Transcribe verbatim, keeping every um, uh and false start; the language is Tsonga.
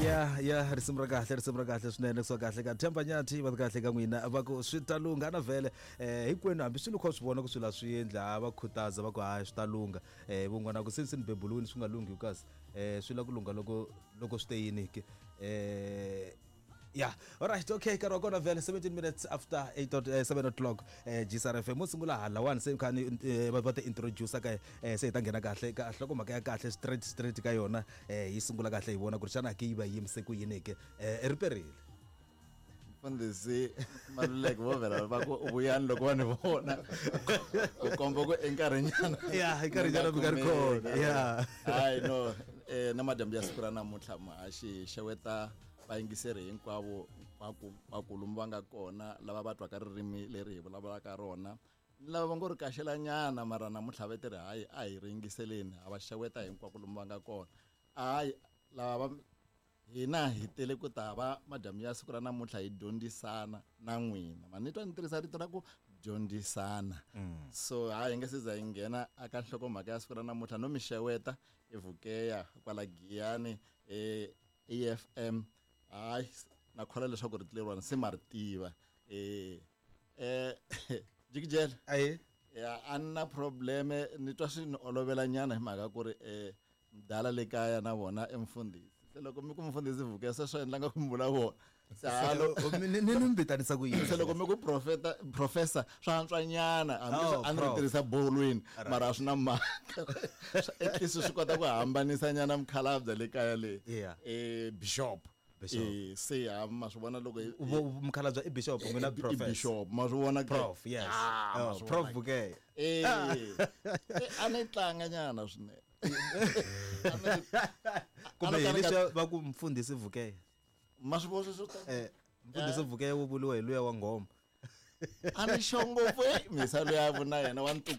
Ya ya, risimu ra kahle, risimu ra kahle swinene, kusuka kahle ka Themba Nyathi. Va kahle ka n'wina, va ku swi ta lungha na vhele. eh hinkwenu hambi swilo kha swi vona ku swilo a swi endli, ha va khutaza, va ku hayi, swi ta lungha. eh vun'wana ku se se ni bebuluwini, swi nga lunghi kasi eh swi la ku lungha loko loko swi te yini ke. eh ya alright, okay, nkarhi wa kona vhele seventeen minutes after eight, eh, seven o'clock. eh G S R F M mo sungula halawani, se kha ni eh, va va ti introduce ka eh, se hi ta nghena kahle ka nhlokomhaka ya kahle, straight straight ka yona. eh hi sungula kahle, hi vona ku ri xana ke yi va yimise ku yini ke. eh riperile. Mfundhisi Maluleke vo vhela va ku vuyani loko va ni vona, ku komba ku enkarhinyana. Ya, enkarhinyana mi nga ri kona, ya. Hayi no, eh na madyambu ya siku ra namuntlha, muhaxi, xeweta vayingiseri hinkwavo, hinkwako vakulumu va nga kona, lava va twaka ririmi leri hi vulavulaka rona ni lava va ngo ri kaxelanyana, mara namuntlha va ti ri hayi, a hi ri yingiseleni. Ha va xeweta hinkwako lomu va nga kona. Hayi, lava va hina hi tele ku ta va madyambu ya siku ra namuntlha hi dyondzisana na n'wina. Ma ni twa ni tirhisa rito ra ku dyondzisana. So hayi, hi nga se za hi nghena aka nhlokomhaka ya siku ra namuntlha, no mi xeweta eVukeya kwala Giyani, e A F M. Hayi, na kholwa leswaku rito leriwani se ma ri tiva. eh eh jikijela. Ayi. Ya, a ni na probleme, ni twa swi ni olovela nyana hi mhaka ku ri eh mdala le kaya na vona i mfundhisi. Se loko mi ku mfundhisi Vukeya, se swi endla nga ku mi vula vona. Se halo. ni ni ni mi vitanisa ku yini? Se loko mi ku profeta, professor, swa antswa nyana, hambi Oh, a ni ri prof. tirhisa bolweni, mara a swi na mhaka. At least swi kota ku hambanisa nyana mukhalabye le kaya le. Yeah. eh bishop. Bishop. Eh, se ha ma swi vona loko hi- Vo- mukhalabye i bishop, n'wina i- i professor. Bishop, ma swi vona ke? Prof, yes. Ah, ma Oh, swi Prof vona ke. Vukeya. Eh, eh, a ni tlanga nyana swinene. A ni- Kumbe a ni hi ka ni leswiya va ku mfundhisi Vukeya. Ma swi vona sweswo ta- eh mfundhisi Vukeya wo vuriwa hi luya wa nghoma. A ni xo ngopfu, eh, misa luya vuna yena wa ntukulu.